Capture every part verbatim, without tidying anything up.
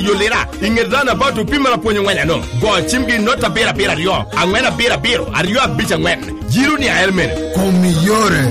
Yo lira, i ŋet roundabout opimere apwony ongwenya no. Go cimgi i not abiro abiro aryo, angwen abiro abiro, aryo abic angwen. Yiro ni ael mene. Kom iyore.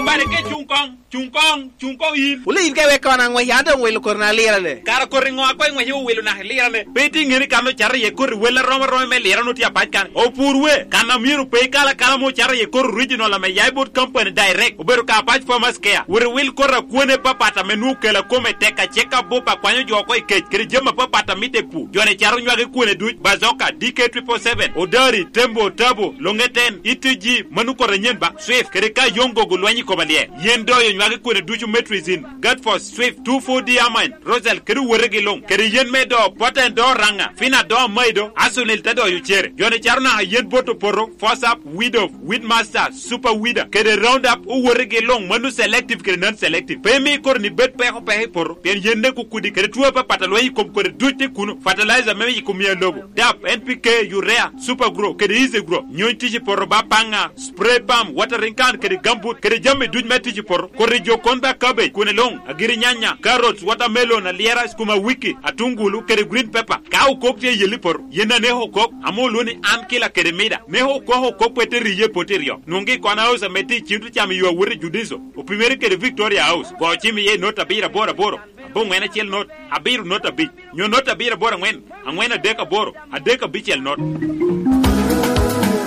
Bare ke cuŋ koŋ, cuŋ koŋ, cuŋ koŋ in. Wule in ka iwek kono aŋwec, an doŋ wilo koti na lirane. Kara koti ŋo a koŋ iŋwece owilo naka i lirane? Pe itye ŋeni kan ocato iye koti wel arom aroma me lira onwoŋo tye apac kan. Opur we, kan a myero pe ikal akala ma ocato iye koti original ame ya i bot company direct, obedo ka apac farmers care. Wot iwil koti akwene papat ame nwoŋo kela kome tek, acek abup akwanyo jo oko i kec, kede jami apapat a mitte i pur. Joni caro nywagi kwene duc, Bazoka, D K triple seven, Odari, Tembo, Tabo, Longeten, E T G, mano koti anyen ba, Swift, kede ka yoŋ gogo lweny i koma lyel. Yen doyo nywagi kwene ducu, Metrizin, Gatfos, Swift, two four D Amine, Rosal, kede owotegi luŋ, kede yen me do, Poten do Raŋa, Fina do Maido, Asunil te doyo cere. Joni caro naka yen bot opoto, Fosap, Widow, Weedmaster, Super Weeder, kede Roundup, owotegi luŋ, mano selective kede non-selective. Pe imi koti ni bed peko peko i poto, pien yen ne kukudi, kede two apapat a lweny i kom kodi duc tye kuno. Fertilizer me i kom ya lobo, dap, N P K, urea, Super Grow, kede Easy Grow. Nyony tic i poto ba paŋa, spray pump, watering can, kede gambut, kede jami duc me tic i poto. Koti jo kon ba cabbage, kwene luŋ, agiri nyanya, carrots, watermelon, alyera, skuma wiki, atungulu, kede green pepper. Ka okok tye i yelli poto, yen aneko okok, ame olwoŋo ni an kila kede mida. Neko okok okok pe te riye poti ryo. Nwoŋgi i Kona House ame tye i Cintro Cam i yo awot i Judiso, opimere kede Victoria House. Go cim iye i not abiro aboro aboro, aboŋwen acel not, abiro not abic, nyo not abiro aboro aŋwen, aŋwen adek aboro, adek abicel not.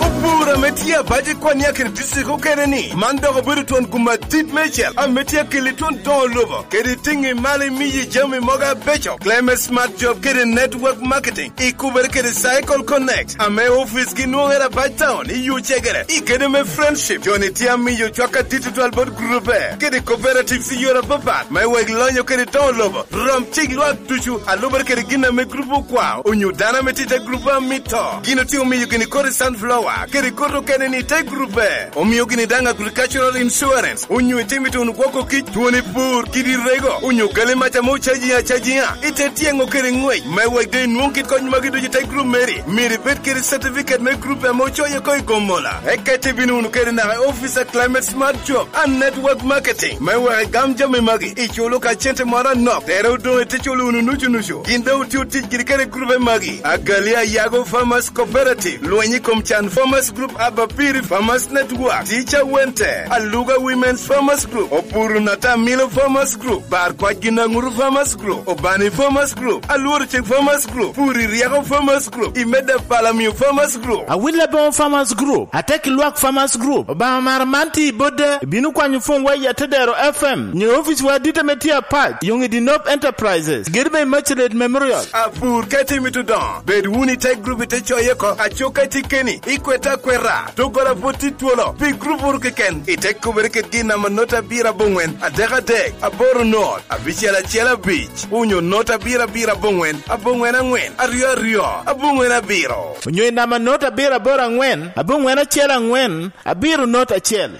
Opur ame tye abac i Kwania kede district okene ni, man dok obedo twon gum adit meicel ame tye akeli twon doŋo lobo, kede tiŋi malo imiyi jami mogo abeco. Climate Smart Job kede Network Marketing ikubere kede Cycle Connect, ame ofice gi nwoŋere abac town i Yucegere. I kede me Friendship, joni tye amiyo cwak adit tutwal bot grupe kede cooperatives i yore apapat, me wek lonyo kede doŋo lobo. Rom cik lwak ducu, alubere kede gin ame grup okwao, onyo dano ame tye i te grup amito. Gin otye omiyo gini kodi sunflower, kede kodi okene ni te grupe. Omio gini daŋ agricultural insurance, onyo itimo ituno gwoko kic, twoni pur, kidi rego, onyo gali mac ame ocaji acajiŋa, ite tyeŋo kede ŋwec, me wek doŋ inwoŋ kit kony magi ducu i te grup meri. Myero ibed kede certificate me grup ame ocoyo oko i Gomola. Eka ite bino wunu kede naka i office a Climate Smart Job and Network Marketing, me wek igam jami magi, iculo ka cente moro anok, tere odoŋ ite culo wunu nucu nucu. Gin doŋ otye otic giri kede grupe magi: Agali Ayago Farmers Cooperative, Lweny i kom Can Farmers Group, Abapiri Farmers Network, Tica Wente, Aluga Women's Farmers Group, Opuru Natamilo Farmers Group, Bar Kwac Ginaŋuru Farmers Group, Obani Farmers Group, Alworo Cik Farmers Group, Puri Ryeko Farmers Group, Imeda Palamio Farmers Group. Awil Aboŋo Farmers Group, Atek Lwak Farmers Group, Obaŋa Mara man tye i Bodda, ibino kwanyo pwony wa i Atedero F M, nyo ofice wa adit ame tye apac, Yoŋ i Dinop Enterprises, gedo me Immaculate Memorial. Apur ka itimo itudoŋo, bed wunu i te grup ite coye oko, aco ka itye keni, ikwete akweta, doggola pwod tye twolo, pi grup wunu keken, ite kubere kede gin namba not abiro aboŋwen, adek adek, aboro not, abicel acel abic, onyo not abiro abiro aboŋwen, aboŋwen aŋwen, aryo aryo, aboŋwen abiro. Onyo i namba not abiro aboro aŋwen, aboŋwen acel aŋwen, abiro not acel.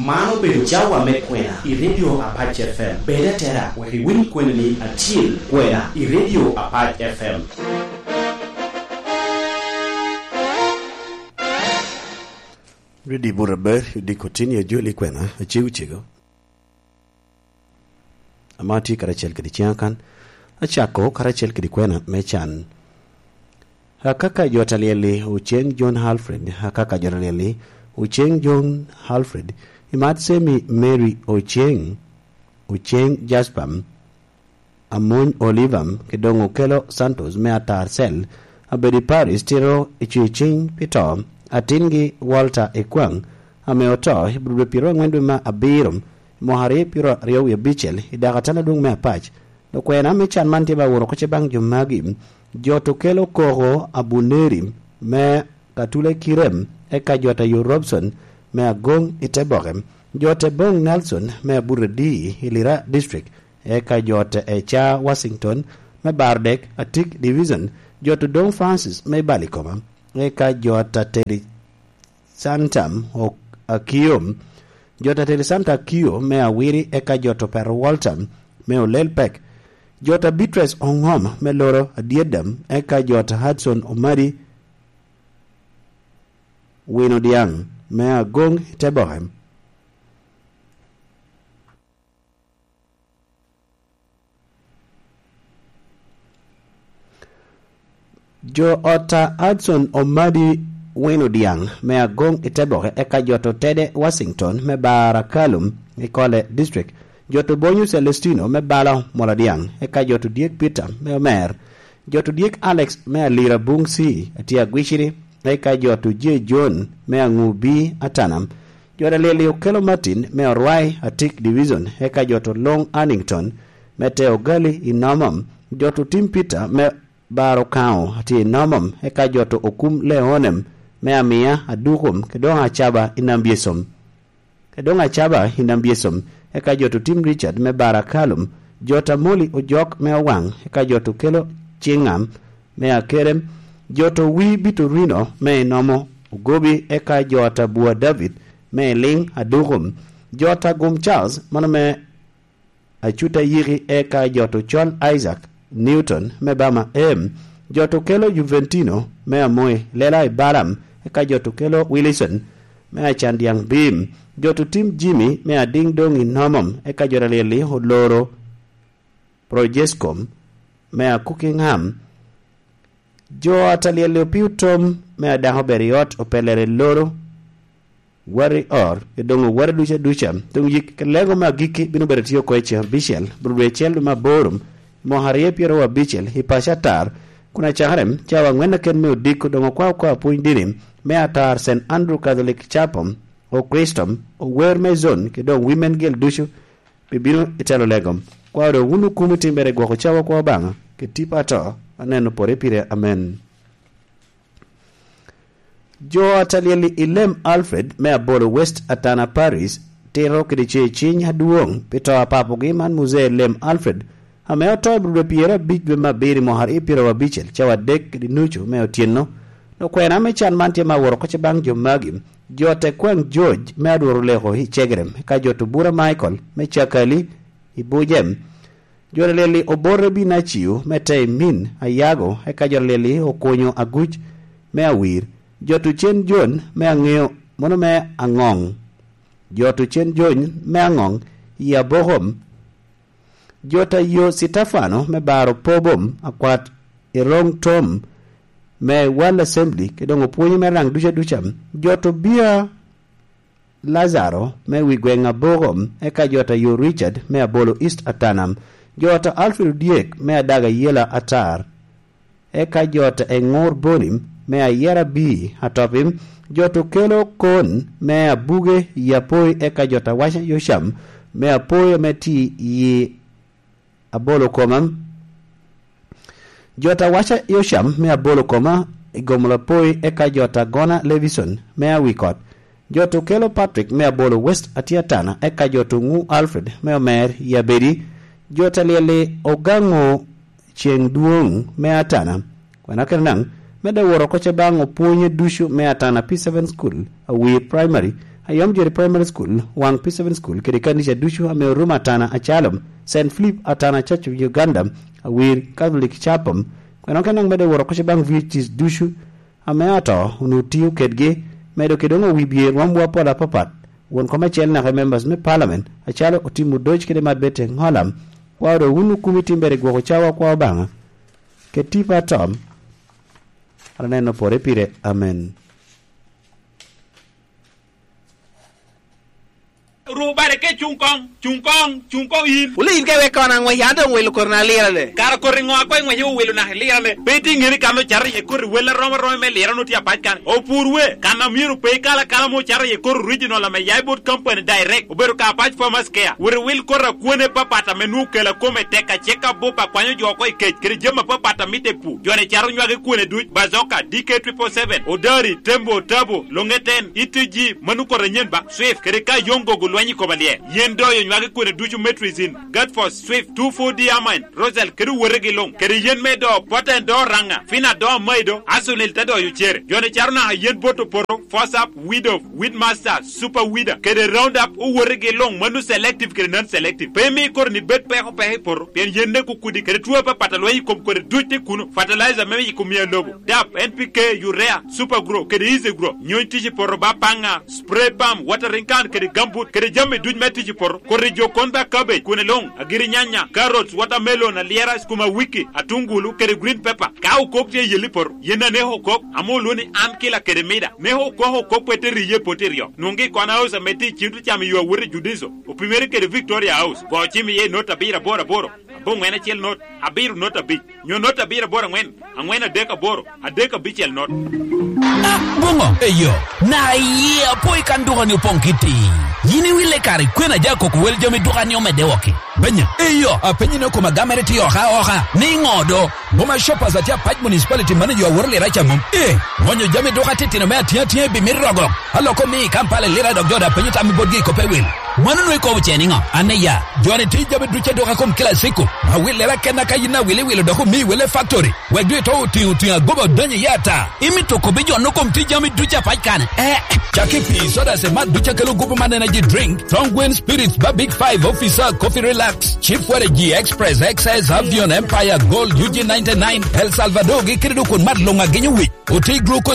Man obedo cawa me kwena i Radio Apac F M. Bed atera wek iwiny kwena ni acil kwena i Radio Apac F M. Ridi Burabër, Diko Tin, ya joli kwena, acego cego. Ama atye karacel kede ciŋa kan, acako karacel kede kwena me can. Akaka jo ta lyel-li, Oceŋ John Alfred, akaka jo ta lyel-li, Oceŋ John Alfred, Imat Semi Mary Oceŋ, Oceŋ Jasper, Amony Oliver, ki doŋ Okello Santos me Atar Cell, abedo i Paris, tito i Cweciny pi to, atingi Walter Ekwaŋ, ame oto i Budo dwe pyeraryo aŋwen dwe me abiro, i mwaka aryo pyeraryo wie abicel, i dako atala adwoŋ me Apac. Lukwena me can man tye ba woro oko ce baŋ jo magi: Jot Okello Koko Abuneri me Katule Kirem, eka Jot Ayo Robson me Agoŋ i Teboke, Jot Eboŋ Nelson me Aburedi i Lira District, eka Jot Eca Washington me Bardek, Atik Division, Jot Odoŋ Francis me Balikoma, eka Jot Ateri Santa Ok-, Akio, Jot Ateri Santa Akio me Awiri, eka Jot Opero Walter me Olel Pek, Jot Abitres Oŋom me Loro Adyedam, eka Jot Hudson Omadi, Wino Dyaŋ me Agoŋ i Teboke. Jo ot a Hudson Omadi Wino Dyaŋ me Agoŋ i Teboke, eka jo to Tede Washington me Bara Kalum i Kole District, jo to Bonyo Celestino me Balo Mola Dyaŋ, eka jo to Dyek Peter me Omer, jo to Dyek Alex me Alira Buŋ C, atye Agwiciri, eka jo to J. John me Aŋu B, Atanam, jo to Lili Okelo Martin me Orwai, Atik Division, eka jo to Luŋ Annington me Te Ogali i Nomom, jo to Tim Peter me Bar Okaŋo atye i Nomom, eka jo to Okum Leonem me Amia, Adukum, kede doŋ Acaba i Nambiesom. Kede doŋ Acaba i Nambiesom, eka jo to Tim Richard me Bar Akalum, jo to Amoli Ojok me Owaŋ, eka jo to Kelo Ciŋam me Akerem, jo to Wi Bitorino me Inomo Ogobi, eka jo to Abua David me Iliŋ Adukum, jo to Agum Charles, mano me Acut Ayiki, eka jo to Col Isaac Newton me Bama Em, jo to Kelo Juventino me Amoy Lela i Balam, eka jo to Kelo Wilson me Acan Dyaŋ Bim, jo to Tim Jimmy me Adiŋ Doŋ i Nomom, eka jo to Alyelli Oloro Projescom me Akuki Ŋam, jo to Alyelli Opio Tom me Adako Ber i Ot Opelere Loro, Wari Or, i doŋ oware ducu aduca. Doŋ yik lego me agikki bino bedo tye oko i ceŋ abicel, bro dwe acel dwe me aboro, i mwaka aryo pyeraryo abicel, i paco atar, kun acakere cawa aŋwen aken me odiko doŋ okwao kwao pwony dini me atar Saint Andrew Catholic Chapel, Okristom, ower me zon, kede doŋ Women Guild ducu bibino i telo lego. Kwao doŋ wun okumo i timbere gwoko cawa kwo Obaŋa, kede tipo ato, aneno pore pire. Amen. Jo a Talyel i Lem Alfred me Abolo West Atana Parish tito kede cer ciny adwoŋ pi to a papogi man Muzee Lem Alfred, ame oto i bur dwe pyerabicel dwe me abiro i mwaka aryo pyeraryo abicel cawa adek kede nucu me otyeno. Okwena me can man tye me awot oko ce baŋ jo magi, jo te kwaŋ George me Adworo Leko i Cegerem, ka jo to Bura Michael me Cakali i Bujem, jo Talyel i Obote Binaciu me Teimin Ayago, eka jo Talyel i Okunyo Aguc me Awir, jo to Cen Jon me Aŋeo, mono me Aŋoŋ, jo to Cen Jon me Aŋoŋ i Abokom, jo ta yo Citefano me Baro Pobom akwat i Roŋ Tom me World Assembly, kede doŋ opwonyo me raŋ duca duca, jo to Bia Lazaro me wi gweŋ Abokom, eka jo ta yo Richard me Abolo East Atanam, jo ta Alfred Odyek me Adaga Yela Atar, eka jo ta Eŋor Bonim me Ayera Bii Atopim, jo to Kelo Kon me Abuge i Apoi, eka jo ta Waca Yocam me Apoi ame tye i Abolo Koma, jo ta Waca Yocam me Abolo Koma i Gomola Apoi, eka jo ta Gona Levison me Awikot, jo to Kelo Patrick me Abolo West Atiatana, eka jo to Ŋu Alfred me Omer i Abedi, jo ta Talyel i Ogaŋo Ceŋ Dwoŋ me Atana. Kwena kede naŋ, medde wot oko ce baŋ opwonye ducu me Atana P seven School, Awir Primary, Ayom Jeri Primary School, Waŋ P seven School, kede kanica ducu ame orumo Atana Acalom, Saint Philip Atana Church of Uganda, Awir Catholic Chapel. Kwena kede naŋ, medde wot oko ce baŋ V H Cs ducu ame ato onwoŋo tio kedgi, medo kede doŋ owi bye rwomwu apol apapat, won kom acel naka i members me parliament, acalo Otim Odoc kede Marbete Ŋolam, kwao doŋ wun okumi timbere i gwoko cawa kwo Obaŋa, kede tipo atom, an aneno pore pire. Amen. Ru bale ke cuŋ koŋ, cuŋ koŋ, cuŋ koŋ in. Wule in ka iwek kono aŋwec, an doŋ wilo koti na lirane. Kara koti ŋo a koŋ iŋwece owilo naka ilirane? Pe itye ŋeni kan ocato iye koti wel arom aroma me lirane otye apac kan. Opur we, kan a myero pe ikal akala mo ocato iye koti original ame ya i bot company direct. Obedo ka apac Farmers Care. Wot iwil koti a kwone papat ame nwoŋo kela kome tek acek abup akwanyo jo oko i kec, kede jami apapat a mitte i pur. Jo-ni cato nywagi kwone duc, Bazoka, D K triple seven, Odari, Tembo, Tabo, Longeten, Itiji, mano koti anyen ba, Swift, kede ka Yongogo, Anyi kobo alyel. Yen doyo nywagi kwene ducu, Metrizin, Gatfos, Swift, two four D Amine, Rosal, kede owotegi luŋ. Kede yen me do, Poten do Oraŋa, Fina do Amaido, Asunil te doyo cere. Joni caro naka yen bot oporo, Force Up, Weed Off, Weed Master, Super Weeder, kede Roundup, owotegi luŋ, mano selective kede non-selective. Pe imi koro ni bed peko peko i poto, pien yen ne kukudi, kede two apapat a lweny i kom kodi duc tye kuno. Fertilizer me i kom miya lobo, dap, N P K, urea, Super Grow, kede Easy Grow. Nyony tic i poto ba paŋa, spray pump, watering can, kede gambut, kede jami duc me tic i poto. Kodi jo kon ba cabbage, kwene luŋ, agiri nyanya, carrots, watermelon, alyera, skuma wiki, atungulu, kede green pepper. Ka okok tye i yelli poto, yen aneko okok, ame olwo ni an kila kede mida. Neko okok okok pe te riye poto iryo. Nwoŋgi i Kona House ame tye i Cito Cam i yo awot i Judiso. Opimere kede Victoria House. Go cim iye i not abiro aboro aboro, aboŋwen acel not, abiro not abic, nyo not abiro aboro aŋwen, aŋwen adek aboro, adek abicel not. Ah, boŋo? Eyo, na iye apo i kan duka ni opoŋ kiti. Yin iwille kare kwena ja koko wel jami duka ni omedde wok-ki. Benya, eyo, apenyi ni okoma gamere tye oka oka. Ni ŋo do? Boma Shoppers atye Apac Municipality manager aworo lira ca mom. Eh, ŋonyo jami duka titino me atye atye bi mit rogo. Aloko mi i Kampala lira dok jo da penyo tam i botgi i kope wil. Mano nwe kobo ce niŋo? An iya, joni tye jami duc aduka kom kila siko. Awil lera ken aka yin awil iwilo dok omi wele factory. Wek dwe to otiŋo otiŋo agoba odonyo iye ata. Imito kobi jo no kom tye jami duc apac kane? Eh, caki pi soda se mat duc akelo gupu man energy drink, Thongwen Spirits ba Big Five Officer, Coffee Relax, Chief Waragi Express, X S, Avion, Empire, Gold, U G ninety-nine, El Salvador gi kede dukun mat luŋ agenyo wic. Oti glucose